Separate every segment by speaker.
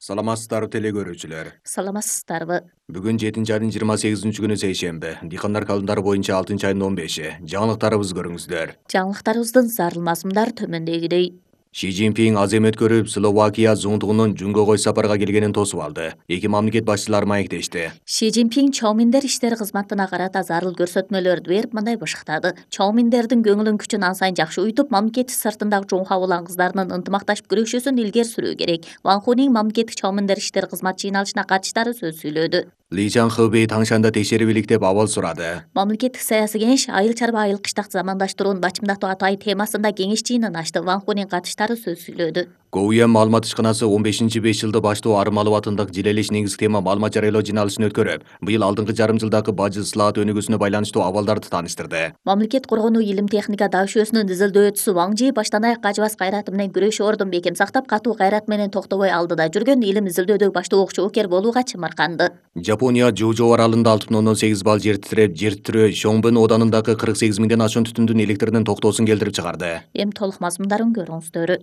Speaker 1: Саламатсыздарбы теле көрүүчүлөр.
Speaker 2: Саламатсыздарбы.
Speaker 1: Бүгүн 7 айдын 28 күнү сейшемби. Дыйкандар календарı боюнча 6 айдын 15-и. Жаңылыктарыбызды көрүңүздөр.
Speaker 2: Жаңылыктарыбыздын зарыл мазмундары төмөндөгүдөй.
Speaker 1: Ши Цзиньпин азем өткөрүп, Словакия зуңтугунун Жунгого сапарга келгенин тосуп алды. Эки мамлекет башчылары маектешти.
Speaker 2: Ши Цзиньпин Чоуминдер иштери кызматына карата зарыл көрсөтмөлөрдү берип, мындай башыктады. Чоуминдердин көңүлүн күчүн ан сайын жакшы уютуп, мамлекет сыртындагы Чоңха улан кыздарынын ынтымакташып күрөшүүсүн илгери сүрүү керек. Ван Хунин мамлекеттик Чоуминдер иштери кызмат жыйналышына катышдары сөз сүйлөдү.
Speaker 1: Ли Чанхыбей Таңшанда текшерип илик деп абал сурады.
Speaker 2: Мамлекеттик саясий кеңеш айыл чарба айыл кыштак замандаштырууну бачымдатуу атайын темасында кеңеш жыйынын ачты. Ван Хунин катыштары сөз сүйлөдү.
Speaker 1: КУМ маалымат ишканасы 15-5 жылды баштоо Армалов атындагы Жилелиш негизги тема маалымат жарыялоо жыйналышын өткөрүп, быйыл алдыңкы жарым жылдагы бажы ысылаат өнүгүүсүнө байланыштуу абалдарды тааныштырды.
Speaker 2: Мамлекет коргонуу илим техника дашөөсүнүн изилдөөчүсү Ван Жи баштан аяк ажыбас кайраты менен күрөшүү ордун бекем сактап, катуу кайрат менен токтобой алдыда жүргөн илим изилдөөдөгү баштоочу окер болууга чымырканды.
Speaker 1: Жапония Жужо аралында 6,8 балл жер титирөө Шоңбун оданындагы 48 миңден ашуун түтүндүн электринин токтоосун келтирип чыгарды.
Speaker 2: Эми толук мазмундарын көрүңүздөр.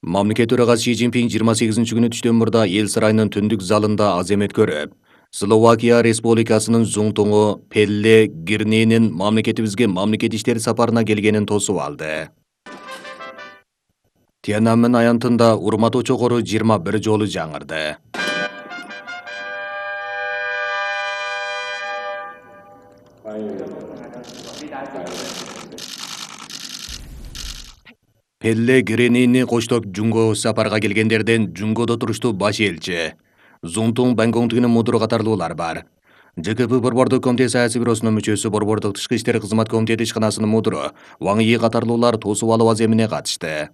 Speaker 1: Мамлекет төрагасы Ши Цзиньпин 28 күнү түштөн мурда эл сарайынын түндүк залында азем өткөрүп, Словакия Республикасынын зуңтуңу Пелле Гирнинин мамлекетибизге мамлекет иштери сапарына келгенин тосуп алды. Тиананмен аянтында урматтоо чокору 21 жолу жаңырды. Пелле Гирнини коштоп Жунгого сапарга келгендерден Жунгодо туруштуу баш элчи Зунтуң Бангоңтигинин мудуру катарлуулар бар. ЖКП Борбордук комитет саясий бюросунун мүчөсү, Борбордук тышкы иштер кызмат комитети ишканасынын мудуру Ваң Йи катарлуулар тосуп алуу аземине катышты.